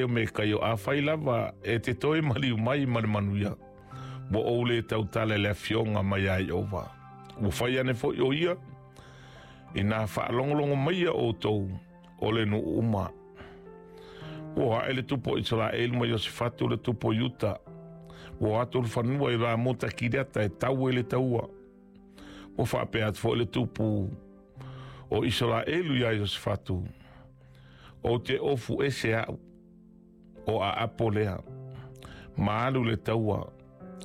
o Mekaio, Afai lava e te toe maliu mai ma le manuia, ua ou lē tautala i le afioga mai iā Ieova. Ua fai ane foi ʻo ia, inā faalogologo maia ʻoutou o le nuu uma. Ua aʻe le tupu o Isaraelu ma Iosefatu le tupu o Iuta. Ua o atu le fanua i Ramota Kileata e tau ai le taua. Ua faapea atu foi le tupu o Isaraelu iā Iosefatu, Ou te ofu ese au, o Aapo lea, ma alu le taua,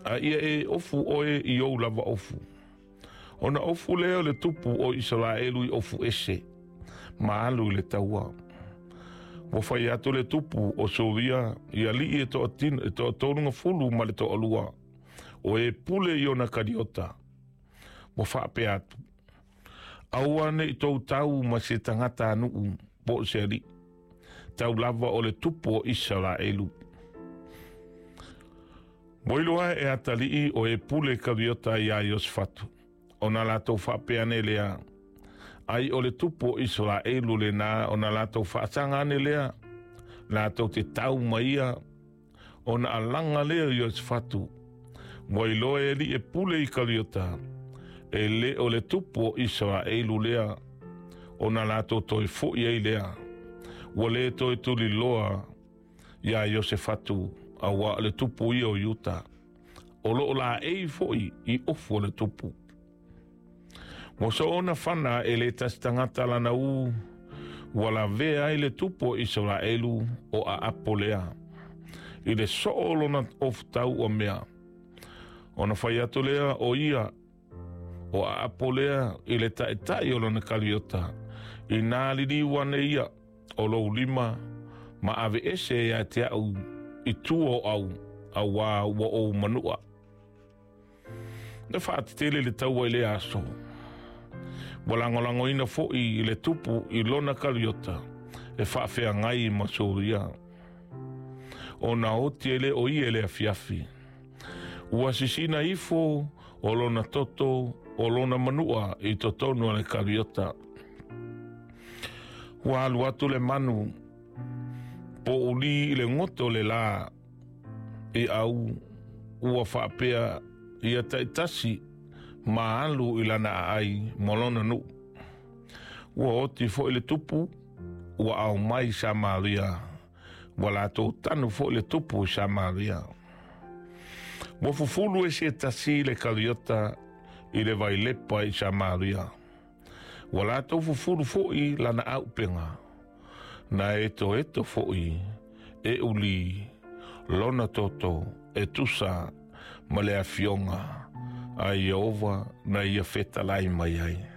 a ia e ofu oe i ou lava ofu. Ona ofu lea o le tupu o Isaraelu i ofu ese, ma alu i le taua. Ua fai atu le tupu o Suria i alii e toatolugafulu ma le toalua, o e pule i ona kaliota. Ua faapea atu, Aua ne i tou tau ma se tagata nuu po o se alii, tau lava o le tupu o Isaraelu. Ua iloa e atalii o e pule kaliota iā Iosefatu, ona latou faapea ane lea, Ai o le tupu o Isaraelu lenā, ona latou faasaga ane lea, latou te tau ma ia, ona alaga lea o Iosefatu. Ua iloa e alii e pule i kaliota, e le o le tupu o Isaraelu lea, ona latou toe foʻi ai lea. Ua lē toe tuliloa iā Iosefatu, auā o le tupu ia o Iuta, o loo laei foi i ofu o le tupu. Ua soona fana e le tasi tagata lana ū, ua lavea ai le tupu o Isaraelu o Aapo lea, i le soo o lona ofutau ua mea. Ona fai atu lea o ia, o Aapo lea i le taitai o lona kaliota, inā liliu ane ia o lou lima ma aveese ia te aʻu i tua o au, auā ua ou manua. Na faatetele le taua i lea aso. Ua lagolagoina foi i le tupu i lona kaliota e faafeagai ma Suria. Ona oti e le o ia i le afiafi. Ua sisina ifo o lona toto o lona manua i totonu o le kaliota. Ua alu atu le manu pouli i le goto o le lā i au ua faapea ia taitasi ma alu i lana aai ma lona nuu. Ua oti foi le tupu ua ao mai i Samaria, ua latou tanu foi le tupu i Samaria. Ua fufulu e se tasi le kaliota i le vailepa i Samaria. Ua latou fufulu foi lana auupega, na etoeto foi e uli lona toto e tusa ma le afioga a Ieova na ia fetalai mai ai.